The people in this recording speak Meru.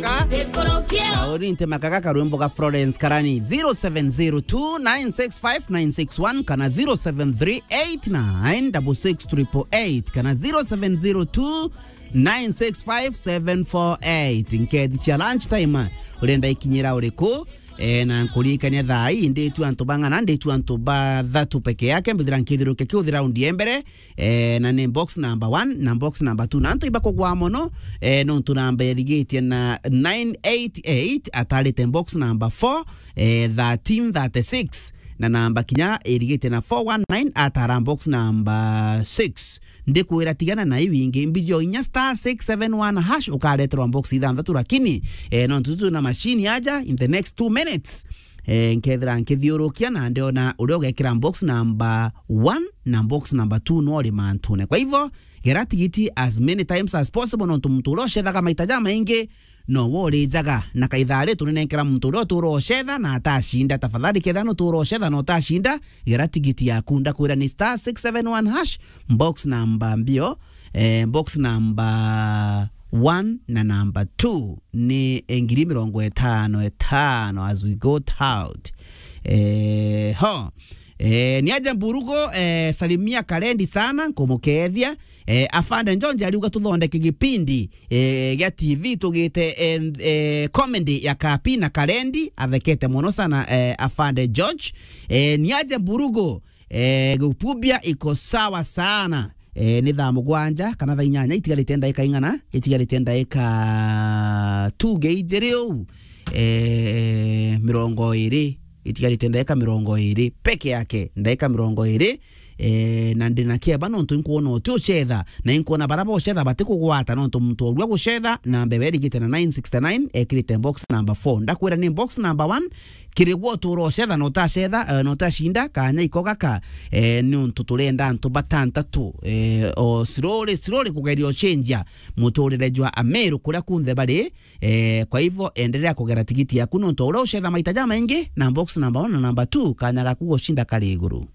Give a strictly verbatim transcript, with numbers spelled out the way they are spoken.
Kauri nte makaga karwimbo ga Florence Karani, zero seven zero two nine six five nine six one kana zero seven three eight nine six six triple eight kana zero seven zero two nine six five seven four eight. Nkethi cia lunch time, urenda ikinyira uriku? E, na nkuririkania thaa ii nditu antu bang'ana, nditu antu bathatu peke yake, mbithira nkithiruke kiuthi raundi ya mbere, e, na ni box number one na box number two. Na antu ibakugwa mono, e, nontu namba irigitie na nine eight eight, atarite box number four, e, thirteen thirty-six, na namba kinya irigitie na four one nine, atara box number six. Ndikwira tigana na iu ingi, mbiji o inya star six seven one hash, ukareterwa box ithanthatu, lakini, e, nontu tu na machine aja, in the next two minutes, e, nkethira nkithiurukia na ndiona uria ugekira box number one na box number two no ri mantune. Kwa hivyo, gera tigiti as many times as possible, nontu muntu uria ucethaga maita jamaingi no wo urijaga. Na kaithaa ri turinenkera muntu uria utura ucetha na atacinda. Tafadhali, kethira nutura ucetha na utacinda, gera tigiti yaku. Ndakwira ni star six seven one hash, box number mbio, eh, box number one na number two ni ngiri mirongo itano itano as we go out. Eh, ho. Eh, ni aja Mburugo, eh, salimia Karendi sana, nkumukethia. Eh, Afande Njonje ariuga tuthondeke gipindi, eh, gia T V tugite, eh, eh, comedy ya Kapi na Karendi. Athekete mono sana, eh, Afande George. Eh, ni aja Mburugo, eh, Gupubia iko sawa sana. Eh, ni thaa mugwanja kana thaa inyanya, itigarite ndaika ing'ana? Itigarite ndaika tuge ijiri uu, eh, mirongo iri. Itigarite ndaika mirongo iri peke yake, ndaika mirongo iri. Eh, na ndina kieba nontu inkwona uti ucetha, na inkwona bara bocetha batikugwata, nontu muntu orua gucetha, namba iwe irigite na nine sixty-nine, ekirite box number four. Ndakwira ni box number one, kiri gwe utura ucetha na utacetha, eh, na utacinda, kanya iko gaka, eh, ni untu turenda antu batantatu, eh, o slowly, slowly kugeria ucenjia muturire jwa Ameru kuria kunthe bari. Eh, kwa hivyo, endelea kugera tigiti yaku, nontu uria ucetha maita jamaingi na box number one na number two, kanya gaku gucinda kari iguru.